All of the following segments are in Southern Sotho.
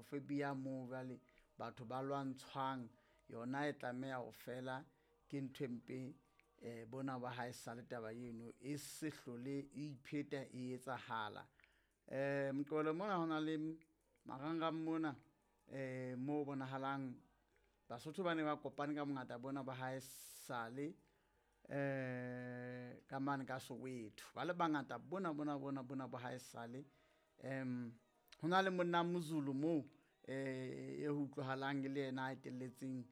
xenophobia moo jwale batho ba lwantshwang yona e tlameha ho fela. Ke ntho e mpe bona ba ha e sale taba eno e se hlole e ipheta e etsahala. Moqebelo mona ho na le marangrang mona mo bonahalang Basotho ba ne ba kopane ka bongata bona ba hae sale ka mane ka Soweto, ba le bangata bona bona bona bona ba hae sale. Ho na le monna Mozulu moo e ho utlwahalang e le yena a etelletseng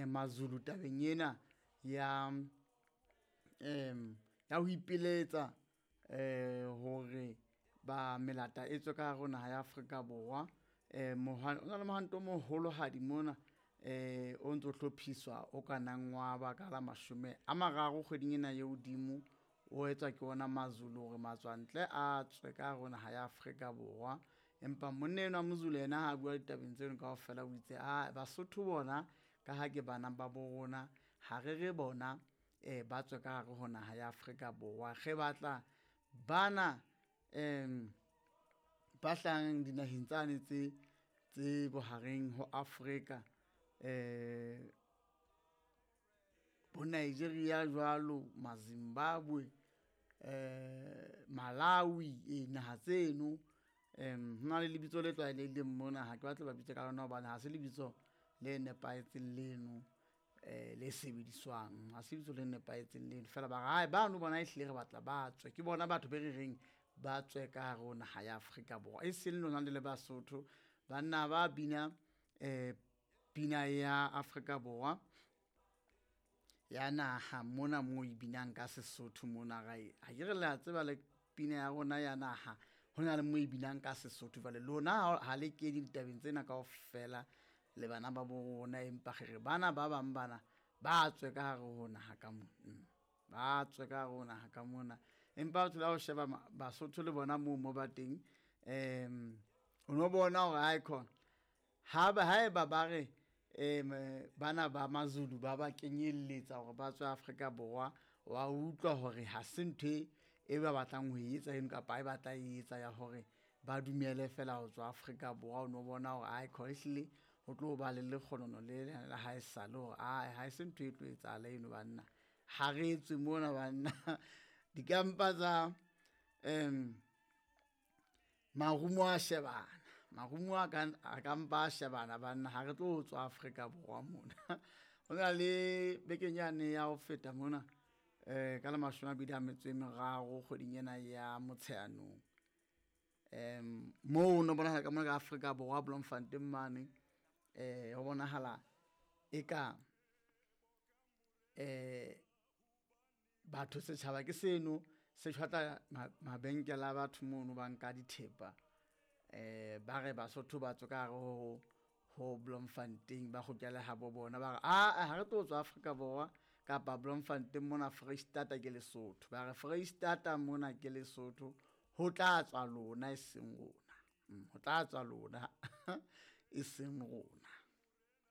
Mazulu tabeng ena ya ya ho ipiletsa hore ba melata e tswe ka hare ho naha ya Afrika Borwa. O na le mohwanto o moholohadi mona o ntso hlophiswa o ka nang wa ba ka la 30 kgweding ena ye hodimo, o etswa ke ona Mazulu hore matswantle a tswe ka hare ho naha ya Afrika Borwa. Empa monna enwa Mozulu yena ha bua ditabeng tseno kaofela, o itse a Basotho bona ka ha ke bana ba bo rona, ha re re bona ba tswe ka hare ho naha ya Afrika Borwa. Re batla bana ba hlahang dinaheng tsane tse bohareng ho Afrika, bo Nigeria jwalo, Mazimbabwe, Malawi, e naha tseno. Ho na le lebitso le tlwaelehileng mona, ha ke batle ba bitse ka lona hobane ha se lebitso le nepahetseng leno le sebediswang, ha se lebitso le nepahetseng leno. Feela ba re ae bano bona ehlile re batla ba tswe, ke bona batho be re reng ba tswe ka hare ho naha ya Afrika Borwa, e seng lona le le Basotho. Banna ba bina pina ya Afrika Borwa ya naha mona mo e binang ka Sesotho mona, ha ke re le a tseba le pina ya rona ya naha ho na le mo e binang ka Sesotho. Jwale lona ha le kene ditabeng tsena kaofela le bana ba bo rona, empa re re bana ba bang bana ba tswe ka hare ho naha ka mona, ba tswe ka hare ho naha ka mona. Empa o thola ho sheba Basotho le bona moo mo ba teng, o no bona hore ae khona ha ba haeba ba re bana ba Mazulu ba ba kenyelletsa hore ba tswe Afrika Borwa, wa utlwa hore ha se ntho e ba batlang ho e etsa eno kapa e batla e etsa ya hore ba dumele fela ho tswa Afrika Borwa. O no bona hore ae khona ehlile ho tlo ba le lekgonono le la ha esale hore ae ha se ntho e tlo etsahala eno banna, ha re tswe mona banna. Dikampa tsa marumo a shebana, marumo a kampa a shebana banna, ha re tlo tswa Afrika Borwa mona. Ho na le bekeng yane ya ho feta mona ka la 23 kgweding ena ya Motsheanong, moo no bonahala ka mona ka Afrika Borwa Bloemfontein mane, ho bonahala eka batho setjhaba ke seno se tjhwatla mabenkele a batho mono, ba nka dithepa ba re Basotho ba tswe ka hare ho Bloemfontein ba kgutlele ha bo bona. Ba re aa ha re tlo tswa Afrika Borwa kapa Bloemfontein mona, Foreisetata ke Lesotho. Ba re Foreisetata mona ke Lesotho, ho tla tswa lona e seng rona, ho tla tswa lona e seng rona.